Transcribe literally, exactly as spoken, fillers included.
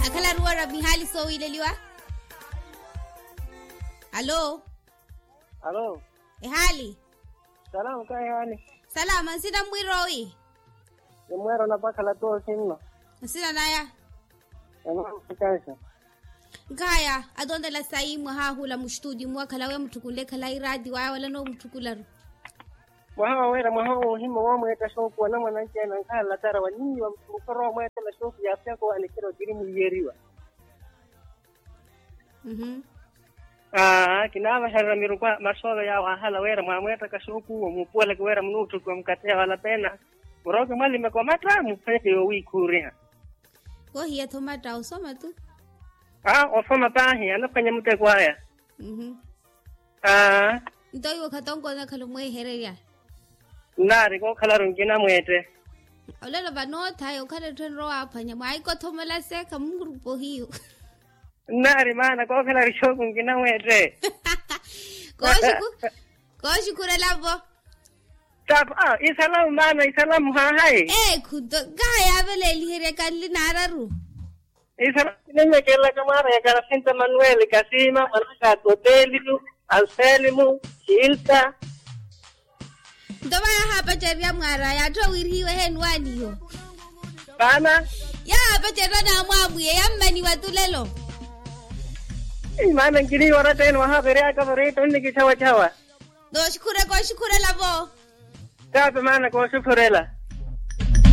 Akhalaruwa ra mihaali soowiileliwa. Alo. Alo. Ehaali. Salama kahihaani. Salama nsina mmwirowi. Nimweera onapakhala toosi nno. Nsina naya. Emwaamu ekansa. Nkaya atontela sayi mwahaahula mustutio muwakhala weya mutthukunle khalayi raati waya wala noomutthukularyo. Mwaha waweera mwaha woohimya woomweetta shoopu wanamwananci-ene ankhala latara wa niiwa mukhoro woomweettela shoopu yaafyaka owanikira otiri mwiiyeriwa. Aa kinaavahererya miruku a masoolo yaawo ahala weera mwaamweettaka shoopu owo muupuweleke weera munuutthukiwa mukathi ya wala peena. Murooke mwalimeke omatta muphweke yoowiikhuuriha. Koohiya-tho omatta osoma tu. Aa osoma paahi anaphwanya muteko aya. Aa. Nto iwe okhatonkoona khalo mweehererya. Nnaari kookhalaru nkinamweette. Olelo vanootha yookhala etthu enrowa waaphwanya mwaahikothomola se khamunrupa ohiyu. Nnaari maana kookhalaru shooku nkinamweette. Kooxukhurela-vo. Taapa isalamu maana isalamu haahayi. Eekhu nto nkaha yaaveleeliherya kanli naararu. Isalamu kinenyekelaka mwaareyaka nasinta manuweli kasiima mwanaka atoteliyu anselimu hilta. Nto va yahaapacererya mwaara yaatthi owiirihiwe eheeni waaniyo. Maana. Yahaapacererya naamwaamwiye yammaniwa tulelo. Maana nkiniiwa oratta ene wahaaperyaka vareta onnikichawachawa. Nooxukhurela kooxukhurela-vo. Taape maana kooxukhurela.